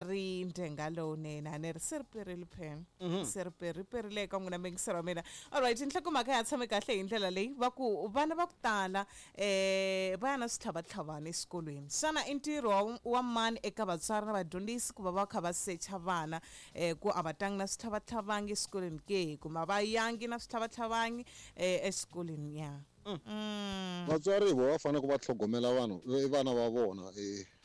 ri ndhenga lowunene a ni ri se ri perile pen se ri peri perile eka n'wina mingisero wa mina. Alright, nhlokomhaka ya tshame kahle hi ndlela leyi va ku vana va ku tala va ya na switlhavatlhavana exikolweni. Xana i ntirho wa mani eka vatswari na vadyondzisi ku va va kha va secha vana ku a va tangi na switlhavatlhavangi exikolweni ke, kumbe a va yangi na switlhavatlhavangi exikolweni ya? Vatswari hi vona va fanele ku va tlhogomela vanhu vana va vona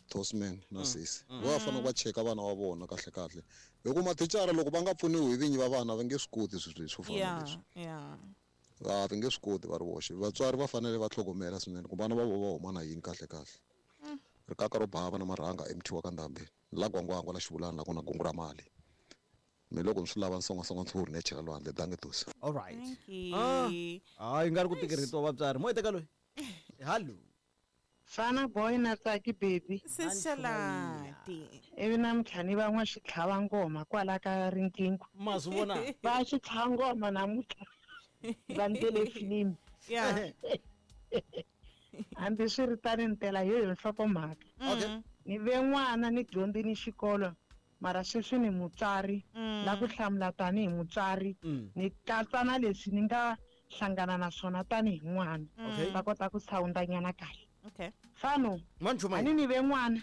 Tosman na sesi. Va fanele ku va cheka vana va vona kahle kahle. Hi ku mathicara loko va nga pfuniwi hi vinyi va vana va nge swi koti swilo leswi swo fana na leswi. A va nge swi koti va ri voxe. Vatswari va fanele va tlhogomela swinene ku vana va vona va huma na yini kahle kahle. Rikaka ro bava na marhanga MT wa ka Ndhambi la Gwangwangwa la Xivulani la ku na gungu ra mali. Me loko ni swi lava ni songasonga ntshuri ni ya chela lwandle dange Tosi. All right. Thank you. Hayi nga ri ku tikirhitiwa vatswari. Mo teka loyi. Hallo. Fana boy na Tsaki baby. Sishalati. Ivi namuntlha ni va n'wa xitlhava ngoma kwala ka riqingho. Ma swi vona? Va xitlhava ngoma namuntlha. Va ndlele filimi. Hambi swi ri tani ni tela hi yo nhlokomhaka. Ni ve n'wana ni dyondzini xikolo mara sweswi ni mutswari la ku hlamula tanihi mutswari ni katsa na leswi ni nga hlangana na swona tanihi n'wana. Va kota ku sawundanyana kahle. Fano, Manchuma a ni ni ve n'wana.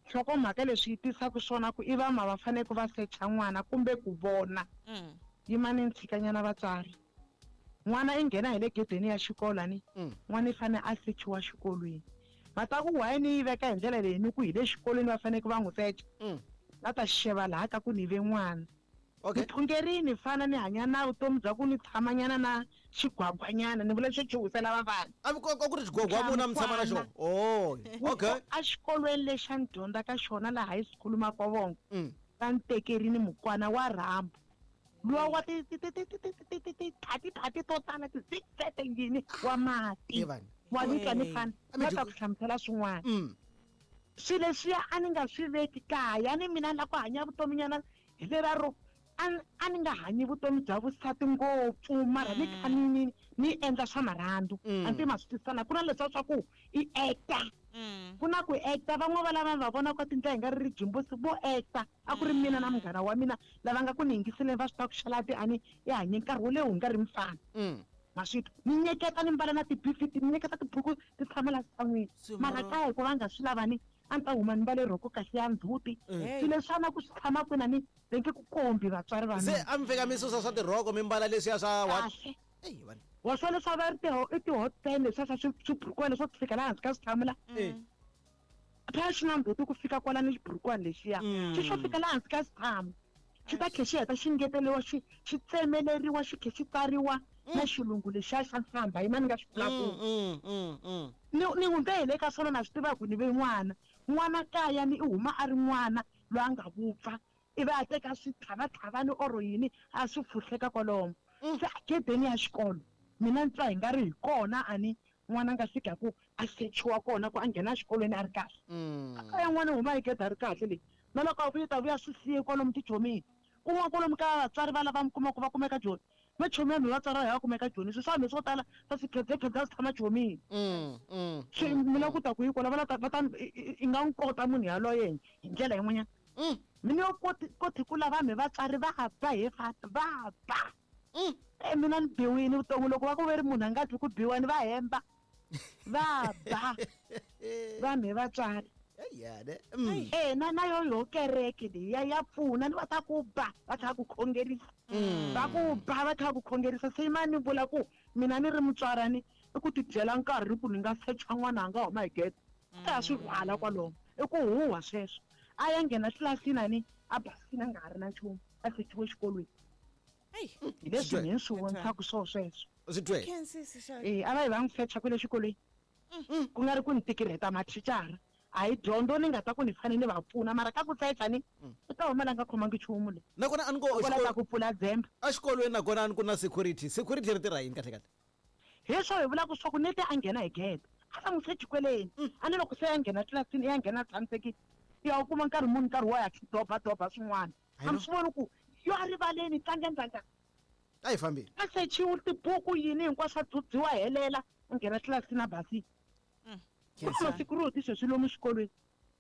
Nhlokomhaka leswi yi tisaka swona ku i vama va fanele ku va secha n'wana kumbe ku vona. Yima ni ntshikanyana vatswari. N'wana i nghena hi le gedeni ya xikolo ni n'wana i fanele a sechiwa xikolweni. Va ta ku why ni yi veka hi ndlela leyi ni ku hi le xikolweni va fanele ku va n'wi secha. Va ta xeva laha ka ku ni ve n'wana. Ni thongerini fana ni hanya na vutomi bya ku ni tshamanyana na xigwagwanyana, ni vula xo chuhisela vavana. A ku ku ri xigwagwa muna mi tshama na xona? Oh, okay. A xikolweni lexi a ni dyondza ka xona laha high school Makovongo, va ni tekerini mukwana wa rhambu. Luwa wa ti ti ti ti ti ti ti ti ti thati thati to tala ti zigzag yini wa mati. Ye vanhu. Wa ni twa ni fana. A mi Va ta dyi- ku hlamusela swin'wana. Swilo leswiya a ni nga swi veki kaya, ni mina la ku hanya vutomi nyana hi lera ro a ni nga hanyi vutomi bya vusati ngopfu, mara ni kha ni ni ni endla swa marhandu. A ndzi ma swi twisisana. Ku na leswiya swa ku i actor. Ku na ku actor, van'wana va lava va vonaka tindlela hi nga ri ri jimbosi vo actor. A ku ri mina na munghana wa mina lava nga ku ni yingiseleni va swi tiva ku xalati a ni i hanye nkarhi wo leha wu nga ri mufana. Ma swi twa? Ni nyeketa ni mbala na tibifiti, ni nyeketa tibuku ti tshama la xitshan'wini. Mara kaya hikuva va nga swi lava ni a ni ta huma ni mbale rhoko kahle ya ndzhuti. Swilo leswi a na ku swi tshama kwini a ni va nge ku kombi vatswari va Se mina. a mi fika mi susa swa tirhoko mi mbala leswiya swa what? Kahle. Eyi, vanhu. Wa swa leswi a va ri i ti-hot pan leswiya swa swiburukwana leswo fika laha hansi ka switshamu la. Phela xi na ndzhuti ku fika kwala ni xiburukwana lexiya. Xi xo fika laha hansi ka xitshamu. Xi ta tlhe xi heta xi ngeteriwa, xi xi tsemeleriwa, xi tlhe xi tsariwa na xilungu lexiya xa nhlambha, yima ni nga xi vulavuli. Ni ni hundze hi le ka swona na swi tiva ku ni ve n'wana. N'wana kaya ni i huma a ri n'wana loyi a nga vupfa, ivi a teka switlhavatlhavani or yini a swi fuhleka kwalomo. Se a gedeni ya xikolo mina ni twa hi nga ri hi kona a ni n'wana a nga fika ku a sechiwa kona ku a nghena exikolweni a ri kahle. Kaya n'wana u huma hi gede a ri kahle leyi. Na loko a vuya u ta vuya swi siye kwalomu tichomini. Kun'wana kwalomu ka vatswari va lava mi kumaka va kumeka Joni. Machomi ya mina vatswari va hina va kumeka Joni. Swilo swa mina swo tala swa swikhedzekhedze a swi tshama chomini. Swi mi lava ku ta ku yi kwala va la ta va ta i nga n'wi kota munhu yaloye hi ndlela yin'wanyana. Mina yo koti koti ku lava me vatswari va ba he fana va ba. Mina ni biwile vutomi loko va ku ve ri munhu a nga twi ku biwa ni va hemba. Va ba. Va me vatswari. Na na yo yo kereke leyi ya ya pfuna ni va ta ku ba va kha ku khongerisa. Va ku ba va kha ku khongerisa se yima ni vula ku mina ni ri mutswari ni i ku tibyela nkarhi ku ni nga secha n'wana a nga huma hi gede. Ta swi rhwala kwalomo. I ku huhwa sweswo. A ya nghena tlilasini a ni a basini a nga ha ri na nchumu a sechiwe xikolweni. Hey. Hi leswi ni swi vonisaka swo sweswo. Swi twe. Khensi xa. A va yi va n'wi secha kwale xikolweni. Ku nga ri ku ni tikirheta mathicara. A hi dyondzo ni nga ta ku ni fanele ni va pfuna mara ka ku secha ni u ta huma la nga khomangi nchumu le. Nakona a ni ko Kwala ta ku pfula dzembe. Exikolweni nakona a ni ku na security. Security ri tirha yini kahle kahle? Hi swo hi vulaka swa ku nete a nghena hi gede. A va n'wi sechi kweleni. A ni loko se ya nghena tlilasini ya nghena tshamisekile. Ya u kuma nkarhi muni nkarhi wo ya doba doba swin'wana. A mi swi voni ku yo a rivaleni tlanga ndzandza. A yi fambile. A sechiwe tibuku yini hinkwaswo a dzudziwa helela a nghena tlilasini a basile. Ku na security sweswi lomu xikolweni.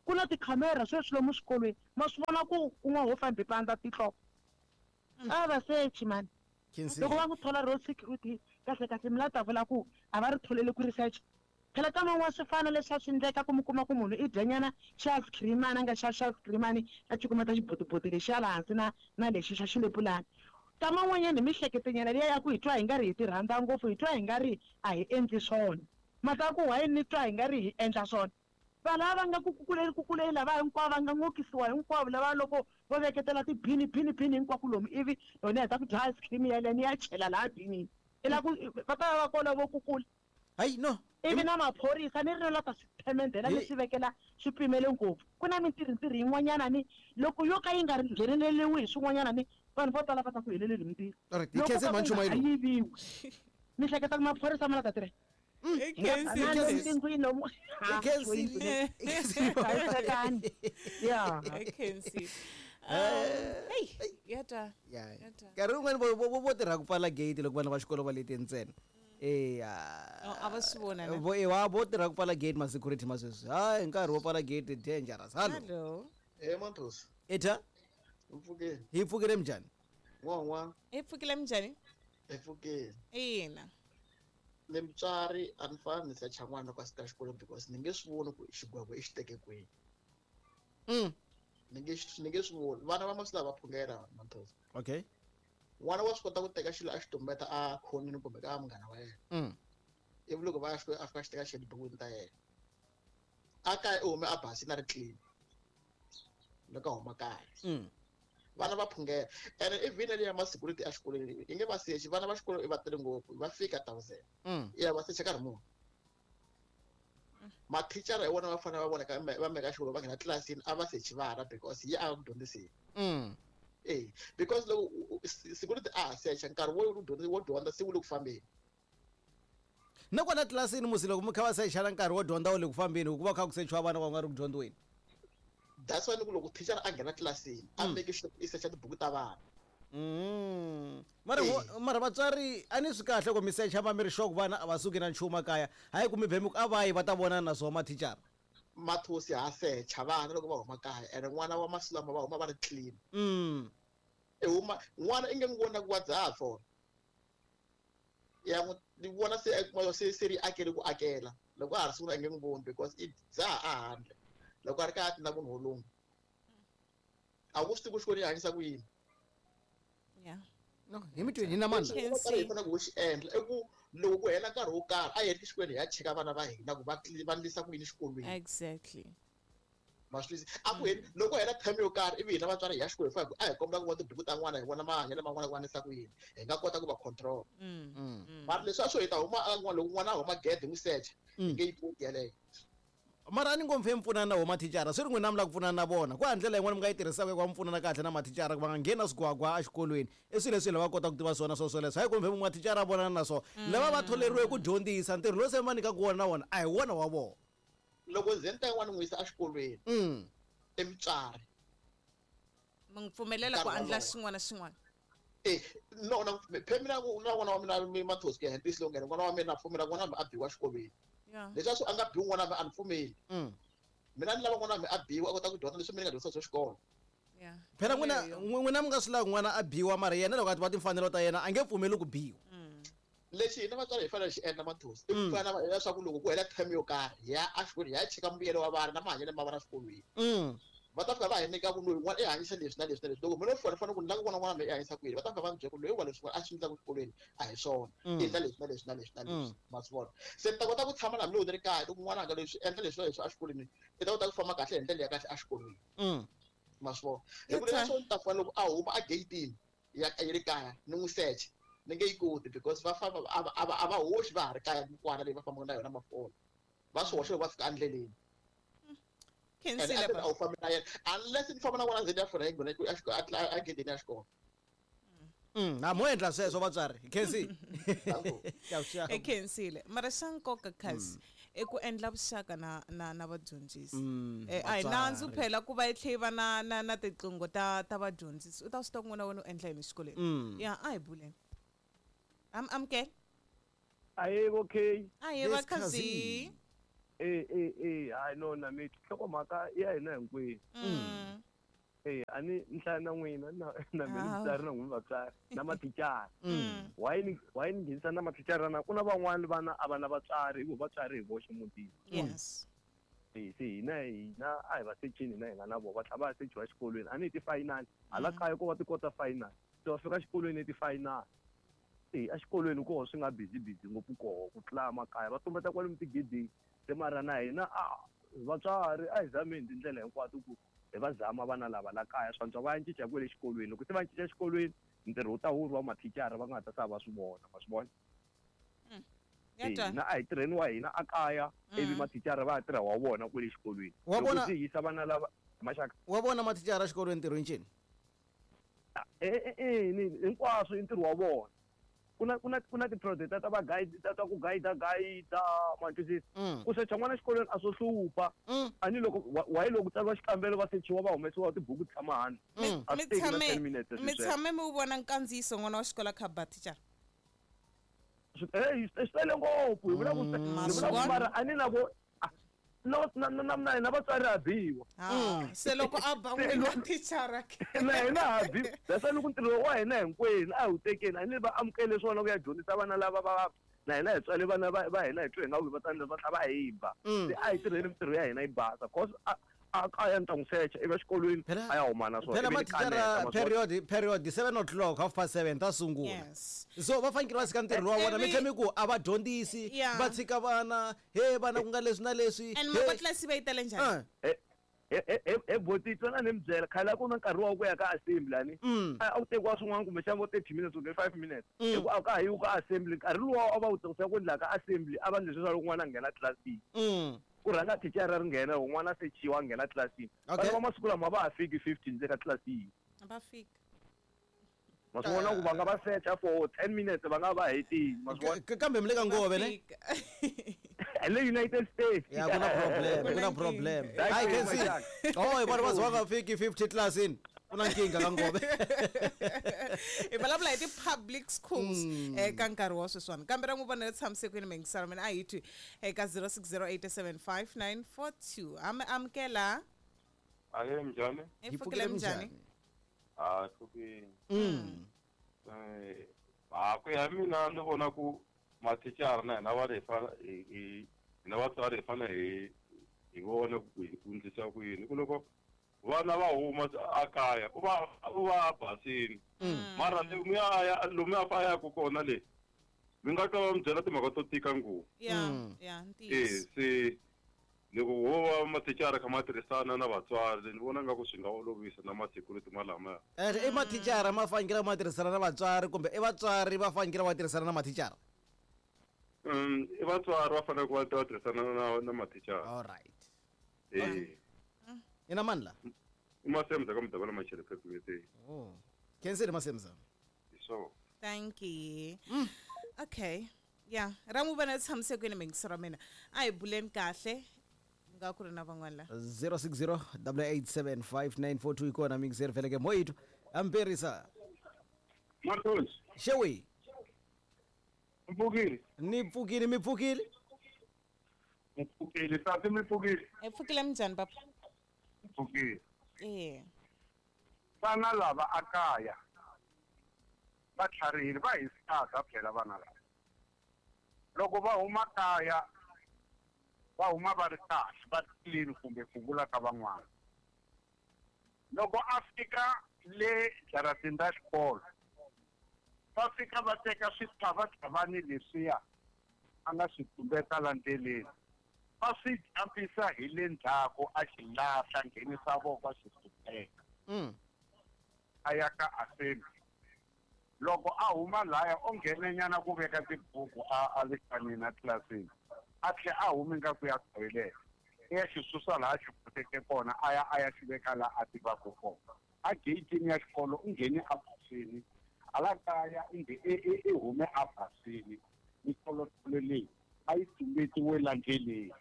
Ku na tikhamera sweswi lomu swikolweni, ma swi vona ku un'wana wo fambe pandza tihlo. A va sechi mani. Loko va n'wi thola road security kahle kahle mi la ta vula ku a va ri tholele ku research. Phela ka man'wana swi fana leswi a swi endleka ku mi kuma ku munhu i dya nyana xa ice cream a nga xa xa ice cream a cukumeta xibotiboti lexiya laha hansi na na lexi xa xilepulana. Ka man'wanyana hi mihleketonyana liya ya ku hi twa hi nga ri hi ti rhandza ngopfu, hi twa hi nga ri a hi endli swona. Mhaka ya ku why ni twa hi nga ri hi endla swona? Vanhu lava va nga ku kukuleni kukuleni lava hinkwavo va nga n'okisiwa hinkwavo lava loko vo veketela tibini bini bini hinkwako lomu ivi loko ni heta ku dya ice cream yaleyo ni ya chela laha binini i la ku va ta va va kona vo kukula. Hayi no. Ivi na maphorisa ni ri la ta swi themendhela ni swi vekela swipimelo ngopfu. Ku na mintirho-ntirho yin'wanyana ni loko yo ka yi nga ngheneleriwi hi swin'wanyana ni vanhu vo tala va ta ku heleleni hi mintirho. Alright, hi Loko khense ka ku nga ha Mhanchumayelo. yiviwi ni hleketa ku maphorisa ma la ta tirha. Hi khensile. Tindlwini lomu. Hi khensile. Hi khensile. Hlayisekani. Ya. Hi khensile. Hey, ya ta. Ya. Ya ta. Nkarhi wun'wani vo vo vo tirha ku pfala gate loko vana va xikolo va lete ntsena. Eya. Oh, a va swi vona na? Vo ewa vo tirha ku pfala gate ma security ma sweswi. Hayi nkarhi wo pfala gate dangerous. Hello. Hello. Eh Mantos, Etha, mpfukeni. hi pfukile minjhani? N'wan'wa, Hi pfukile minjhani? hi pfukeni. Ina. Ni mutswari a ni fani ni secha n'wana loko a suka xikolweni because ni nge swi voni ku xigwevo i xi teke kwihi. Ni nge ni nge swi voni. Vana va masiku lawa va phungela Mantos. Okay. N'wana wa swi kota ku teka xilo a xi tumbeta a khonini kumbe ka munghana wa yena. Ivi loko va ya xikolweni a fika a xi teka xi ya tibukwini ta yena. A kaya u hume a basile a ri clean. Loko a huma kaya. Vana va phungela. Ene even leyi ya ma-security exikolweni yi nge va sechi, vana va xikolo i va tele ngopfu, va fika 1000. Ya va secha nkarhi muni. Mathicara hi wona va fanele va vonaka va meka xikolo va nghena tlilasini a va sechi vana because hi a ku dyondziseni. Eh, because loko security a ha secha nkarhi wo dyondza wo dyondza se wu le ku fambeni. Na kwala tlilasini musi loko mi kha va sechana nkarhi wo dyondza wu le ku fambeni hikuva kha ku sechiwa vana va nga ri ku dyondziweni. That's why ni ku loko thicara a nghena tlilasini a make sure i secha tibuku ta vana. Mara mara vatswari a ni swi kahle ku mi secha va mi ri sure ku vana a va suki na nchumu kaya. Hayi ku mi vhe mi ku a va yi va ta vonana na swona mathicara. Mathosi ha secha vana loko va huma kaya ene n'wana wa masiku lama va huma va ri clean. I huma n'wana i nge n'wi voni na ku wa dzaha fona. Ya n'wi ni vona se a kuma se se ri akele ku akela loko a ha ri sungula i nge n'wi voni because i dzaha a handle loko a ri kaya a tina munhu wolungu a wu swi tivi ku xikolweni i hanyisa ku yini. Yeah. No, hi mi twini hi na mandla. Lexi hi faneleke ku xi endla i ku loko ku hela nkarhi wo karhi a hi yeni exikolweni hi ya cheka vana va hina ku va va endlisa ku yini xikolweni. Exactly. Ma swi twisisa? A ku heli loko hela term yo karhi ivi hina vatswari hi ya xikolweni hi a hi kombela ku vona tibuku ta n'wana hi vona mahanyelo ma n'wana ku va ku yini hi nga kota ku va control. Mara leswi a swo hi ta huma a n'wana loko n'wana a huma gede hi n'wi secha hi nge yi koti yeleyo. Mara a ni ngo mi pfunana na wo mathicara swi ri n'wina mi lava ku pfunana na vona ku ha ndlela yin'wana mi nga yi tirhisaka ku va mi pfunana kahle na mathicara ku va nga ngheni na swigwagwa exikolweni i swilo leswi lava kota ku tiva swona swo swoleswo hayi kumbe mathicara a vonana na swona lava va tholeriwe ku dyondzisa ntirho lowu se va nyikaka wona na wona a hi wona wa vona. Loko nze ni ta yin'wana n'wi yisa exikolweni i mutswari mi n'wi pfumelela ku endla xin'wana na xin'wana. Eh, no na phe mina na n'wana wa mina mi mathosi ku ya hi ntiyiso lowu nghena n'wana wa mina na pfumela n'wana wa mina a biwa exikolweni. Leswi a nga biwi n'wana wa mina a ni pfumeli. Mina ni lava n'wana wa mina a biwa a kota ku dyondza leswi mina ni nga dyondzisa swa xikolo. Phela n'wina n'wina mi nga swi lavi n'wana a biwa mara yena loko a tiva timfanelo ta yena a nge pfumeli ku biwa. Lexi hina vatswari hi fanele xi endla mathosi i ku pfuna na leswaku loko ku hela term yo karhi hi ya exikolweni hi ya cheka mbuyelo wa vana na mahanyelo ma vana exikolweni. Va ta fika va hi nyika ku loyi n'wana i hanyisa leswi na leswi na leswi loko mina fona fana ku ni lava ku vona n'wana loyi i hanyisa ku yini va ta fika va ni byela ku loyi wa leswi a swi endlaka exikolweni a hi swona i endla leswi na leswi na leswi na leswi ma swi vona se ni ta kota ku tshama na hambi loko ni ri kaya loko n'wana anga leswi endla leswi na leswi exikolweni i ta kota ku famba kahle hi ndlela ya kahle exikolweni ma swi vona hi ku leswo ni ta fana loko a huma egeyitini ya ya le kaya ni n'wi secha ni nge yi koti because va famba a va hoxi va ha ri kaya mikwana leyi va fambaka na yona mafona va swi hoxa loko va fika endleleni. Khensile a wu fambi na yena unless ni famba na n'wana ndzeni ya fona yi nghena a gedeni ya xikolo. Na mo endla sweswo vatswari hi khensile. Hi khensile mara xa nkoka kasi i ku endla vuxaka na na na vadyondzisi. A hi nandzu phela ku va yi tlhe yi va na na na tiqingho ta ta vadyondzisi u ta swi tiva ku n'wana wa wena u endla yini exikolweni. Ya a hi buleni. Amukela. Ahe okay. Ahe va khazi. Hayi no na mi nhlokomhaka ya hina hinkwenu. A ni nhlaya na n'wina na mina mutswari na n'wina vatswari na mathicara. Why ni nghenisa na mathicara na ku na van'wani vana a va na vatswari hi vo vatswari hi voxe mutini. Yes. Se hina a hi va sechini hina hi nga na vona va tlhela va ya sechiwa exikolweni a ni hi ti-final hala kaya ko va ti-quarter final se va fika exikolweni ti-final. Exikolweni koho swi nga busy ngopfu koho ku tlula makaya va tumbeta kwalomu tigedeni se mara na hina vatswari a hi zameni tindlela hinkwato ku hi va zama vana lava la kaya swantswa va ya cinca kwele exikolweni loko se va cinca exikolweni ntirho wu ta wu ri wa mathicara va nga ta sa va swi vona ma swi vona. Hina a hi tirheni wa hina a kaya ivi mathicara va ya tirha wa vona kwele exikolweni loko se yisa vana lava maxaka wa vona mathicara exikolweni ntirho incini hinkwaswo i ntirho wa vona. Ku na ti-project ta va guide ta ku guide ma twisisa ku secha n'wana exikolweni a swo hlupha a ni loko why loko tsariwa xikambelo va sechiwa va humesiwa tibuku tshama hansi mi tshame mi wu vona nkandziyiso n'wana wa xikolo kha ba thicara swi tele ngopfu hi vula ku mara a ni na vo na hina vatswari ha biwa se loko a ba n'wina thicara na hina ha biwa that's why loko ntirho wa hina hinkwenu a hi wu tekeni a ni va amukele swona ku ya dyondzisa vana lava va na hina hi tswale vana va hina hi twe hi nga va tsandza va tlhela va hi ba se a hi tirheni mintirho ya hina yi basa cause a kaya ni ta n'wi secha ivi exikolweni a ya huma na swona phela mathicara period 7 o'clock 7:30 ta sungula. So va fanekele va tshika ntirho wa vona mi tlhela mi ku a va dyondzisi va tshika vana he vana ku nga leswi na leswi and matlasi va yi tele njhani boti tsona ni mi byela khale a ku na nkarhi wa ku ya ka assembly ani a wu tekiwa swin'wana kumbexana vo 30 minutes kumbe 5 minutes hi ku a ka ha yiwi ka assembly nkarhi luwa a va wu tirhisa ku endla ka assembly a va endle leswaku loko n'wana a nghena tlilasini ku rhanga thicara ri nghena loko n'wana a sechiwa a nghena tlilasini vana va masiku lama va ha fiki 15 le ka tlilasini va fika ma swi vona ku va nga va secha for 10 minutes va nga va hetini ma swi vona kambe mi le ka ngove ne le United States ya ku na problem ku na problem I can see oh vana va za va nga fiki 50 tlilasini ku na nkingha ka ngove hi vulavula hi ti-public schools eka nkarhi wa sweswiwani kambe ra n'wi vona ri tshamise kwini mingisana mina a hi twi eka 06087594 ami amukela ahe mnjani hi pfukile mnjani a pfukile ku ya mina ni vona ku mathicara na hina va hi hina vatswari hi fanele hi vona ku hi endlisa ku yini ku loko vana va huma a kaya u va basini mara lomuya fa yaku kona le mi nga twa va mi byela timhaka to tika ngopfu se loko wo va mathicara kha ma tirhisana na vatswari ni vona nga ku swi nga olovisa na ma-security malamaya i mathicara ma fanekele ma tirhisana na vatswari kumbe i vatswari va fanekele va tirhisana na mathicara i vatswari va fanele ku va tirhisana na mathicara all right ina mani la i Masemza ka Mudabela Machele Phephethe oh khensile Masemza hi swona thank you okay ya ra n'wi vona tshamise kwini mingiso ra mina a hi buleni kahle nga ku ri na van'wana la 0608875942 ikona mingiseri veleke moyito amperisa Marcos xewi mpfukile ni pfukile mi pfukile mpfukile tati mi pfukile hi pfukile minjhani papa mpfukile vana lava a kaya va tlharihile va hi saka phela vana lava loko va huma kaya va huma va ri kahle va clean kumbe ku vula ka van'wana loko a fika le jaratini ra xikolo va fika va teka switlhavatlhavani leswiya a nga swi tumbeta la ndleleni va swi jampisa hi le ndzhaku a xi lahla nghenisa voko a xi sukeka a ya ka assembly loko a huma laya o nghenenyana ku veka tibuku a le kanini a tlilasini a tlhe a humi nga ku ya toilet i ya xi susa laha xi pfuteke kona a ya xi veka laha a tivaka kona a geyitini ya xikolo u nghene a basini hala kaya i hume a basini mitolotolo leyi a yi tumbetiwe la ndleleni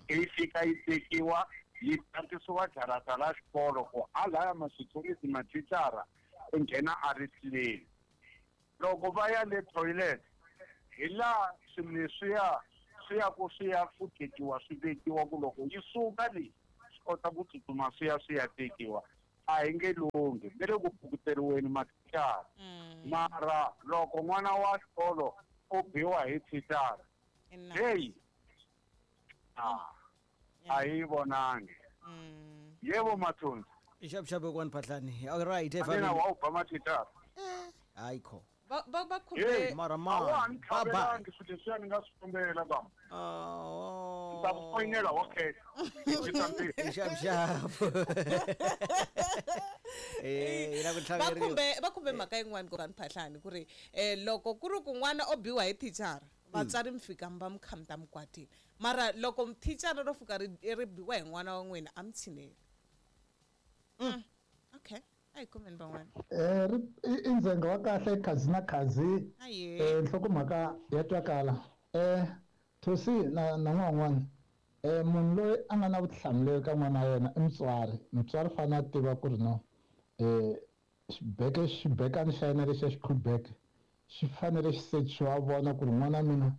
yi fika yi tekiwa yi tatisiwa jarata ra xikolo ku halaya ma-security mathicara u nghena a ri clean loko va ya le toilet hi laha swilo leswiya swi ya ku swi ya ku tekiwa swi vekiwa ku loko yi suka leyi swi kota ku tsutsuma swi ya tekiwa a hi nge lunghi ve le ku pukuteriweni mathicara mara loko n'wana wa xikolo u biwa hi thicara heyi a yi vonangi yebo Mathonsi ixapuxapu kwani Phahlani all right mina wa u ba mathicara hayi kho ba khumbe mara ma ba ba swilo leswiya ni nga swi kombela ba ta ku foyinela okay xapuxapu va khumbe mhaka yin'wana ku vanhu Phahlani ku ri loko ku ri ku n'wana o biwa hi thicara vatswari mi fika mi va mi khamta mikwatini mara loko thicara ro fika ri biwa hi n'wana wa n'wina a mi tshineli okay a hi kumeni van'wana i ndzhenga wa kahle khazi na khazi nhlokomhaka ya twakala Thosi na n'wan'wana munhu loyi a nga na vutihlamuleri ka n'wana wa yena i mutswari mutswari fanele a tiva ku ri no xibekani xa yena lexi xa xikhubeke xi fanele xi sechiwa vona ku ri n'wana mina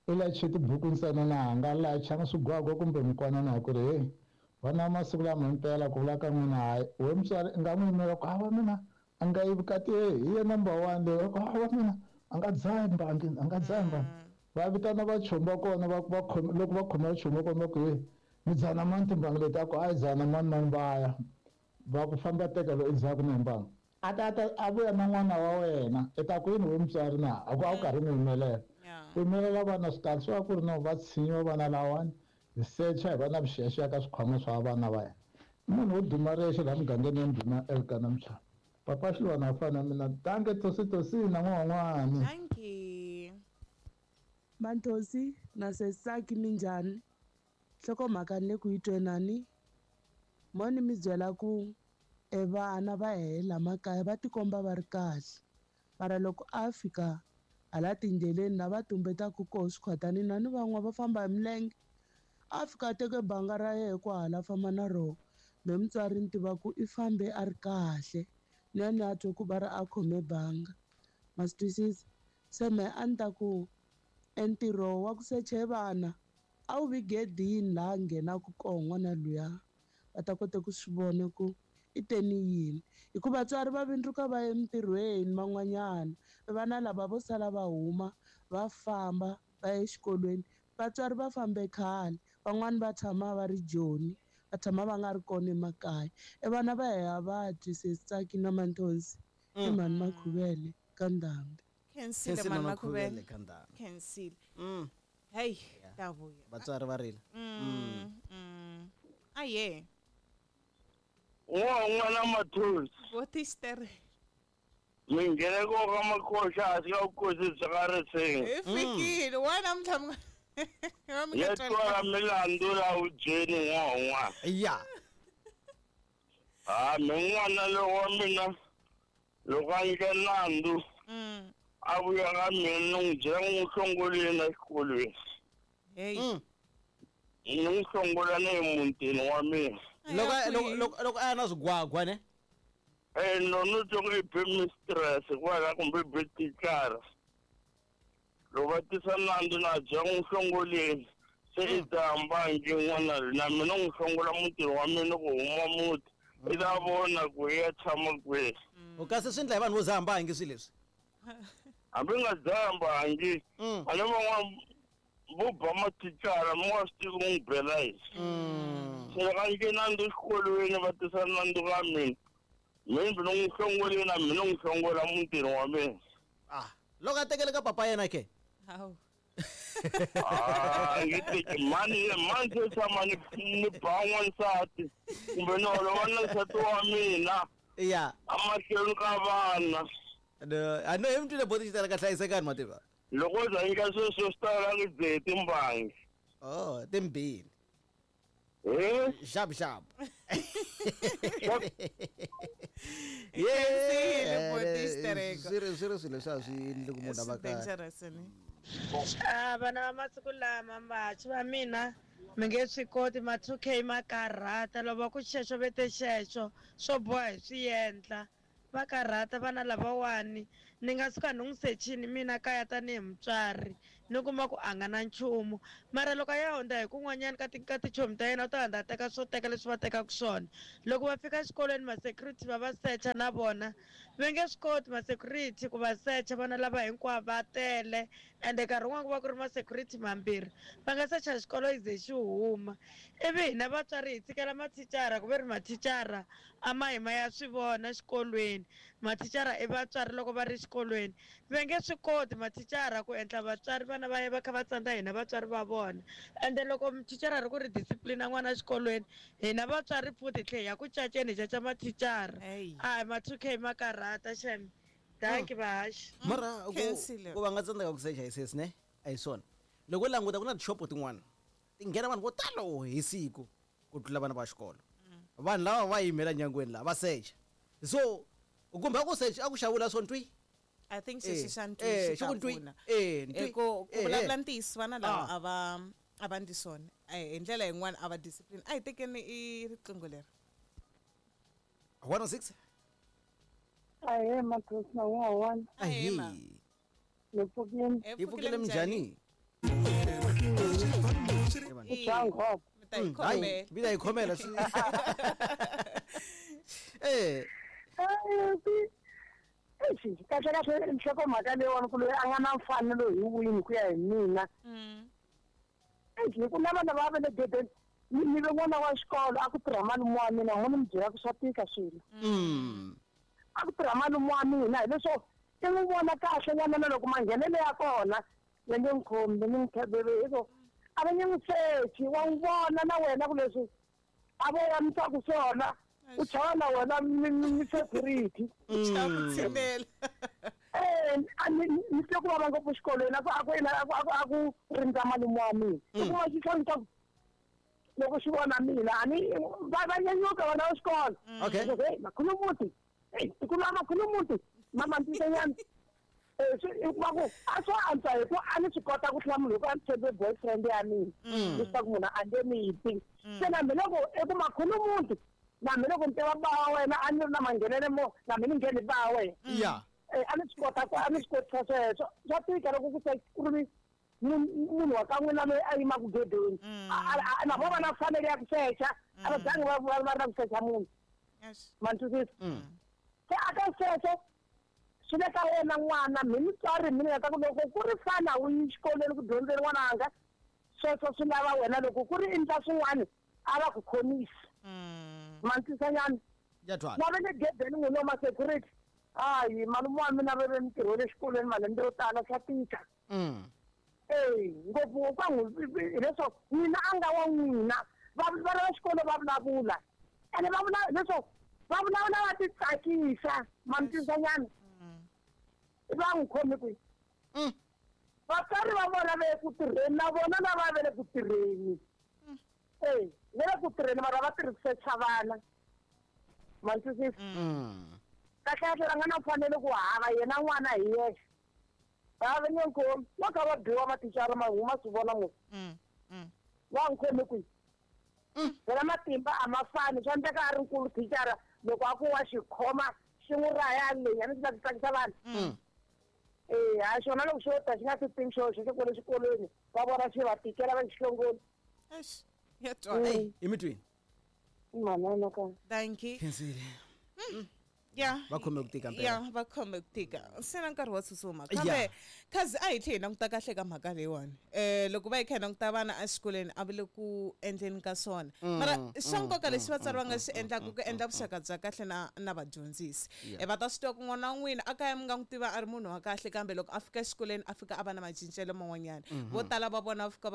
i layiche tibuku ntsena na a nga layichanga swigwagwa kumbe mikwana na ku ri hey vana masiku lama himpela ku vula ka n'wina hayi we mutswari i nga n'wi yimela ku hawa mina a nga yi vukati hi ye number 1 leyi ku hawa mina a nga dzahi mbangi a nga dzahi mbangi va vitana vachomi va kona va loko va khoma vachomi va kona va ku hey mi dzana mani timbangi leti a ku a yi dzana mani mani va ya va ku famba teka loyi endzhaku na hi mbangi a ta a vuya na n'wana wa wena i ta ku yini we mutswari na a ku a wu karhi n'wi yimelela ku yimelela vana swi kahle swi va ku ri no va tshinyiwa vana lawani hi secha hi va na vuxiyaxiya ka swikhwama swa vana va hina munhu wo duma rexe laha mugangeni ya ndhuma Elkana Mchana papa Xilwana a fana na mina danke Tosi Tosi na n'wan'wani thank you Manthosi na Sesaki minjhani nhlokomhaka ni le ku yi twenani mo ni mi byela ku vana va hela makaya va tikomba va ri kahle mara loko a fika hala tindleleni lava tumbetaka koho swikhwatanini na ni van'wana va famba hi milenge a fika a teke banga ra yehe kwahala famba na roho me mutswari ni tiva ku i fambe a ri kahle ni ya ni a twe ku va ri a khome banga ma swi twisisa se me a ni ta ku entirho wa ku seche vana a wu vi gedini laha nghenaka koho n'wana luya va ta kota ku swi vona ku i teni yini hikuva vatswari va vindzuka va ya emitirhweni van'wanyana vana lava vo sala va huma va famba va ya exikolweni vatswari va fambe khale van'wani va tshama va ri Joni va tshama va nga ri kona emakaya e vana va heha va dyi Sesitsaki na Manthonsi i mhani Makhuvele ka Ndhambi Khensile mhani Makhuvele ka Ndhambi Khensile hey ta vuya vatswari va rila aye n'wana Mathonsi votistere mingheneko ka makhoxa a swi nga kosi bya ka rising hi fikile wa namuntlha ya twala milandzu la vudyeni n'wan'wana ya a mi n'wana lowu wa mina loko a nyike nandzu a vuya ka mina ni n'wi byela n'wi hlongoleni exikolweni ni n'wi hlongola na emutini wa mina loko a ya na swigwagwa ne no no twa ku i be mistress kwala kumbe be thicara loko va tisa nandzu na bya n'wi hlongoleni se i ta mbangi n'wana na mina n'wi hlongola mutini wa mina ku huma muti i ta vona ku i ya tshama kwihi u kasi swi endla hi vanhu vo dzaha mbangi swilo leswi hambi nga dzaha mbangi a ni van'wana vo ba mathicara mi nga swi tivi ku n'wi bela yini se loko a nyike nandzu exikolweni va tisa nandzu ka mina mina ni n'wi hlongoleni na mina n'wi hlongola mutini wa mina loko a tekele ka papa yena ke ngi teki mani mani se tshama ni ba n'wansati kumbe ni holova na nsati wa mina ya amahlweni ka vana a no hi mi twile boti xi tala ka hlayisekani mativa loko za nyika sweswo swi tala ku dzehe timbangi oh timbili xapu xapu swi ri swilo leswi a swi endli ku munhu a va kahle vana va masiku lama vantshwa va mina mi nge swi koti ma 2K ma karhata loko va ku xexo vete xexo swo boha hi swi endla va karhata vana lavawani ni nga suka ni n'wi sechini mina kaya tanihi mutswari Ni kuma ku a nga na nchumu. Mara loko a ya hundza hi kun'wanyana ka ti ka tichomi ta yena u ta hundza a teka swo teka leswi va tekaka swona. Loko va fika exikolweni ma-security va va secha na vona. Va nge swi koti ma-security ku va secha vana lava hinkwavo va tele ende nkarhi wun'wani ku va ku ri ma-security mambirhi. Va nga secha xikolo yi ze xi huma. Ivi hina vatswari hi tshikela mathicara ku ve ri mathicara a ma hi ma ya swi vona xikolweni. Mathicara i vatswari loko va ri xikolweni. Va nge swi koti mathicara ku endla vatswari vana va ya va kha va tsandza hina vatswari va vona. Ende loko thicara ri ku ri discipline n'wana exikolweni hina vatswari futhi hi tlhe hi ya ku caceni hi caca mathicara. A ma 2K ma karhata xem. Dankie vahaxi. Mara ku va nga tsandzeka ku secha hi sesi ne a hi swona. Loko u languta ku na tishopo tin'wana ti nghena vanhu vo talo hi siku ku tlula vana va xikolo. Vanhu lava va yimela nyangweni laha va secha. So kumbe a ku secha a ku xavula swo ntwi. I think xexi xa ntwi xi ta pfuna. Ku vulavula ntiyiso vana lava a va a va ndli swona. Hi ndlela yin'wana a va discipline. A hi tekeni i riqingho leri. 106. Ahee Mathosi na n'wana. Ahee. Ni pfukile. Hi pfukile minjhani? Hayi, mi ta yi khomela. Eh. Kahle kahle nhlokomhaka leyiwani ku loyi a nga na mfanelo hi wini ku ya hi mina. Hi ku na vana va va le gedeni ni ve n'wana wa xikolo a ku tirha malume wa mina n'wana mi byela ku swa tika swilo. A ku tirha malume wa mina hileswo i n'wi vona kahle n'wana na loko manghenelo ya kona va nge n'wi khomi va nge n'wi hi ku a va nge n'wi sechi wa n'wi vona na wena ku leswi a vo yamisaka swona u chava na wena mi security. Ni twe ku vava ngopfu xikolweni a ku a ku a ku rindza malume wa mina. U kuma xi tlhela loko xi vona mina a ni va nyanyuka vana va xikolo. Okay. Hey makhulumuti. Hey tikulu makhulumuti. Mama ntinyana. Va ku a swo antswa hi ku a ni swi kota ku hlamula hi ku a ni tshembe boyfriend ya mina. Leswaku munhu a nge ni bi. Se na mina loko i ku makhulumuti na mina loko ni tiva ba wa wena a ni ri na manghenele mo na mina ni ngheni ba wa wena. Yeah. A ni swi kota ku a ni swi kotisa sweswo. Swa tika loko ku se ku ri munhu wa ka n'wina loyi a yimaka gedeni. Na vo va na mfanelo ya ku secha a va zangi va va ri na ku secha munhu. Ma ni twisisa? Se a ka sweswo swi le ka yena n'wana mi mutswari mi nga ta ku loko ku ri fana u yi xikolweni ku dyondzeni n'wananga sweswo swi lava wena loko ku ri endla swin'wana a va ku khomisi. Ma ni twisisa nyana? Na va le gedeni n'wina wa ma-security hayi malume wa mina va ve mintirho ya le xikolweni malembe yo tala swa tika. Ngopfu ka n'wi hileswo n'wina a nga wa n'wina vana va xikolo va vulavula ene va vula leswo va vulavula va ti tsakisa ma ni twisisa nyana? Va n'wi khomi kwihi? Vatswari va vona va ye ku tirheni na vona lava va le ku tirheni. Va le ku tirheni mara va tirhi ku secha vana. Ma ni twisisa? Kahle kahle va nga na mfanelo ku hava yena n'wana hi yexe. Va va nge khomi va kha va biwa mathicara ma huma swi vona ngopfu. Va n'wi khomi kwihi? Phela matimba a ma fani swa endleka a ri nkulu thicara loko a ku wa xi khoma xi n'wi raya leyi a ni swi la ku tsakisa vanhu. Ha xona loko xo ta xi nga swi tivi xo xo kwale xikolweni va vona xi va tikela va xi hlongoli. Ya twala. I mi twini? Manana ka. Thank you. Khensile. Yeah. Va khome ku tika mpela. Yeah, va khome ku tika. Se na nkarhi wa tsutsuma. Kambe khazi a hi tlhe hi languta kahle ka mhaka leyiwani. Loko va hi kha hi languta vana exikolweni a va le ku endleni ka swona. Mara xa nkoka lexi vatswari va nga xi endlaka ku endla vuxaka bya kahle na vadyondzisi. Va ta swi tiva ku n'wana wa n'wina a kaya mi nga n'wi tiva a ri munhu wa kahle kambe loko a fika exikolweni a fika a va na macincelo man'wanyana. Vo tala va vona va fika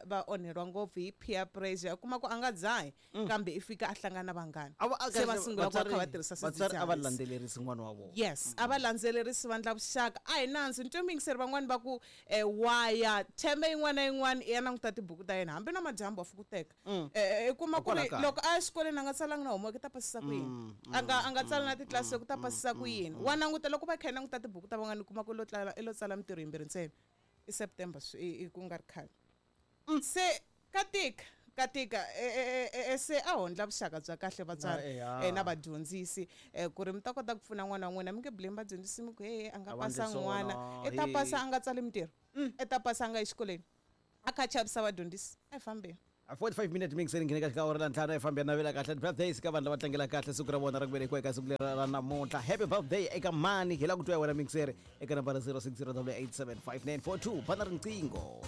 va onheriwa ngopfu hi peer pressure. U kuma ku a nga dzahi kambe i fika a hlangana na vanghana. Se va sungula ku va kha va tirhisa Vatswari a va swidzidziharisi. landzelerisi n'wana wa vona. Yes, a va landzelerisi va ndla vuxaka. A hi nandzu ni twe muyingiseri van'wani va ku waya theme yin'wana na yin'wana i ya languta tibuku ta yena hambi na madyambu wa fika u teka. I kuma ku ri loko a ya xikolweni a nga tsalanga na homework i ta pasisa ku yini? A nga tsala na titlilasi ku ta pasisa ku yini? Wa languta loko va kha yi languta tibuku ta van'wana u kuma ku i lo tsala mintirho yimbirhi ntsena. I September i ku nga ri khale. Se ka tika. Ka tika se a hondla vuxaka bya kahle vatswari na vadyondzisi ku ri mi ta kota ku pfuna n'wana wa n'wina. Mi nge blame vadyondzisi mi ku he a nga A va endli pasanga n'wana, swona, i ta he. pasa a nga tsali mintirho, i ta pasa a nga yi xikolweni, a kha a chavisa vadyondzisi. A hi fambeni. A 45 minute mixeni nghene ka xikawara la ntlhanu. Fambeni navela kahle birthdays ka vanhu lava tlangela kahle siku ra vona ra ku velekiwa eka siku leri ra namuntlha. Happy birthday eka mani? Hi lava ku twa ya wena mixeri eka nambara 060 875 942. Bana riqingho.